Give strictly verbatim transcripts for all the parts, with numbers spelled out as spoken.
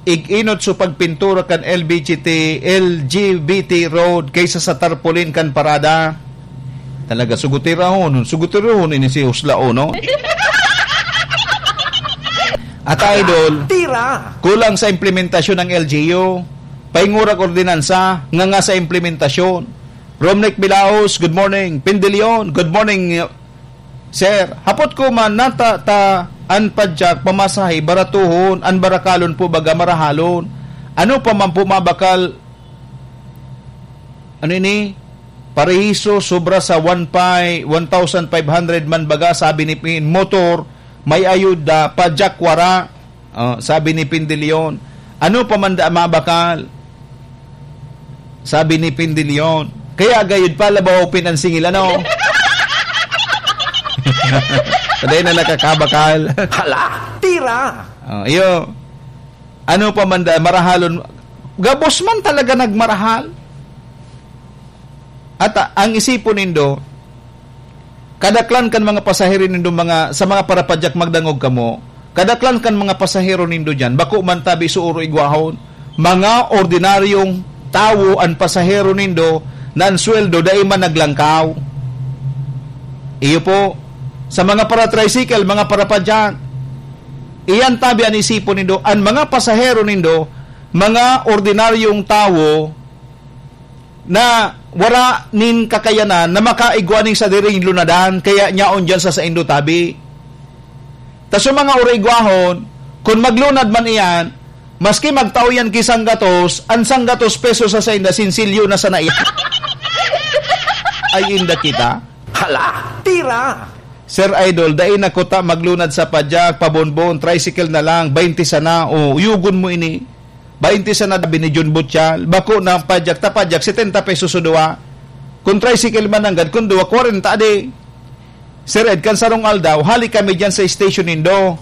ig-inot so pagpintura kan L B G T, L G B T road kaysa sa tarpaulin kan parada. Talaga, sugutirahon, sugutirahon ini si Huslao, no? At idol, Tira! Kulang sa implementasyon ng L G U. Paingurag ordinansa, nga nga sa implementasyon. Romnick Bilaos, good morning. Pindilion, good morning, sir. Hapot ko man, nata ta an padyak pamasahe, baratuhon, an barakalon po baga marahalon. Ano pa man po mabakal, ano ini? Parehiso, sobra sa one pi-, one thousand five hundred man baga, sabi ni Pin. Motor, may ayuda, padyak wara. Oh, sabi ni Pindilion, "Ano pa man da mabakal?" Sabi ni Pindilion, "Kaya gayud pa, labaw pin an singil, ano?" Paday na nakakabakal. Hala, tira! Oh, iyo. Ano pa man da, marahalon. Gabos man talaga nagmarahal. At, ah, ang isipon nindo, kadaklan kan mga pasahero nindo, mga, sa mga parapadyak, magdangog kamo, kadaklan kan mga pasahero nindo diyan, bako man tabi suoro igwahon, mga ordinaryong tawo an pasahero nindo na an sweldo dai man naglangkaw. Iyo po, sa mga para-tricycle, mga parapadyak, iyan tabi an isipon nindo, an mga pasahero nindo, mga ordinaryong tawo, na wara nin kakayanan na makaigwa nin sadiring lunadan, kaya nyaon diyan sa saindo tabi. Ta sa mga uraigwahon, kun maglunad man iyan, maski magtao yan ki sanggatos, an sanggatos pesos sa sainda, sinsilyo na sana iyan. Ay, inda kita. Hala, tira! Sir Idol, dai na kuta maglunad sa padyak, pabonbon, tricycle na lang, baynte sana, o uyugon mo ini. Baynte sana, sabi ni Jun Butchal. Bako na ang padyak, ta padyak, setenta pesos o duwa. Kung tricycle man nanggad, kung duwa, kwarenta di. Sir Ed, kan sarong aldaw, hali kami diyan sa station nindo.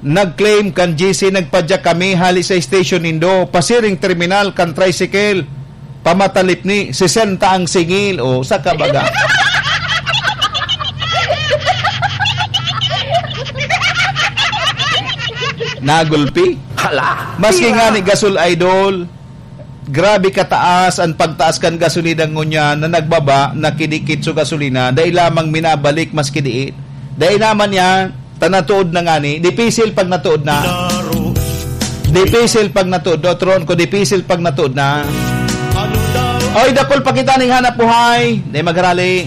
Nag-claim kan G C, nagpadyak kami hali sa station nindo. Pasiring terminal kan tricycle. Pamatalip ni sesenta ang singil. O, sa kabaga. Nagulpi. Hala, Maski tira. Nga ni gasol, idol, grabe kataas ang pagtaas kan gasolina ngunyan na nagbaba, nakidikit sa gasolina, dai lamang minabalik maski diin. Dai naman yan, ta natuod na ngani, dipisil pag natuod na. Dipisil pag natuod, no, Tron, ko dipisil pag natuod na. Oy, dakul pa kita ning hanap buhay, dai magrali.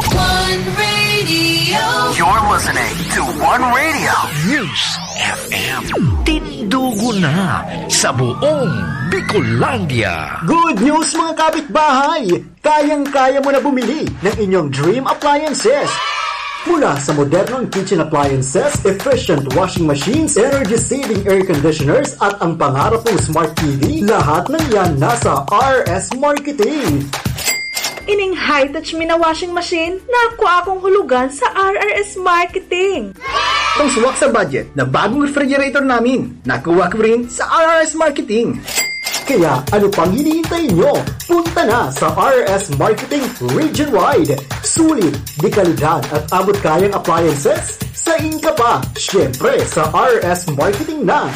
One Radio. You're listening to One Radio. News F M. Tindugo na sa buong Bicolandia. Good news, mga kapitbahay! Kayang-kaya mo na bumili ng inyong dream appliances. Mula sa modernong kitchen appliances, efficient washing machines, energy-saving air conditioners, at ang pangarap mong smart T V, lahat ng yan nasa R S Marketing. Ining high-touch mi na washing machine, nakuha akong hulugan sa R R S Marketing. Itong swak sa budget na bagong refrigerator namin, nakuha ko rin sa R R S Marketing. Kaya ano pang hinihintay nyo? Punta na sa R R S Marketing Region Wide. Sulit, de kalidad at abot kayang appliances? Sa inka pa, syempre sa R R S Marketing na.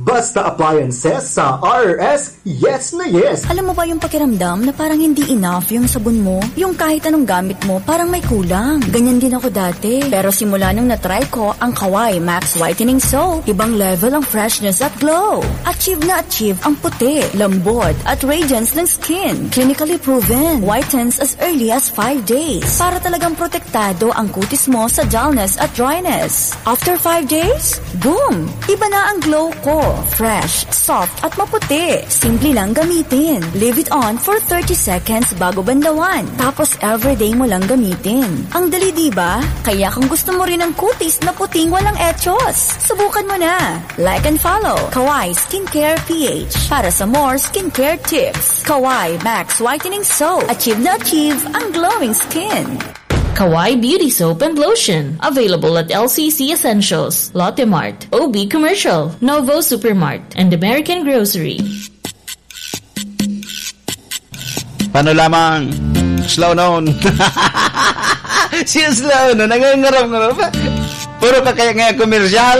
Basta appliances sa R R S, yes na yes. Alam mo ba yung pakiramdam na parang hindi enough yung sabon mo? Yung kahit anong gamit mo, parang may kulang. Ganyan din ako dati. Pero simula nung na-try ko ang Kawai Max Whitening Soap, ibang level ang freshness at glow. Achieve na achieve ang puti, lambot, at radiance ng skin. Clinically proven. Whitens as early as five days. Para talagang protektado ang kutis mo sa dullness at dryness. After five days, boom! Iba na ang glow ko. Fresh, soft, at maputi. Simple lang gamitin. Leave it on for thirty seconds bago banlawan. Tapos everyday mo lang gamitin. Ang dali, di ba? Kaya kung gusto mo rin ang kutis na puting walang echos, subukan mo na. Like and follow Kawai Skincare P H para sa more skincare tips. Kawai Max Whitening Soap. Achieve na achieve ang glowing skin. Kawai Beauty Soap and Lotion. Available at L C C Essentials, Lotte Mart, O B Commercial, Novo Supermart, and American Grocery. Paano lamang? Slow noon. Siya slow noon. Nangangarap-ngarap. Puro ka kaya nga komersyal.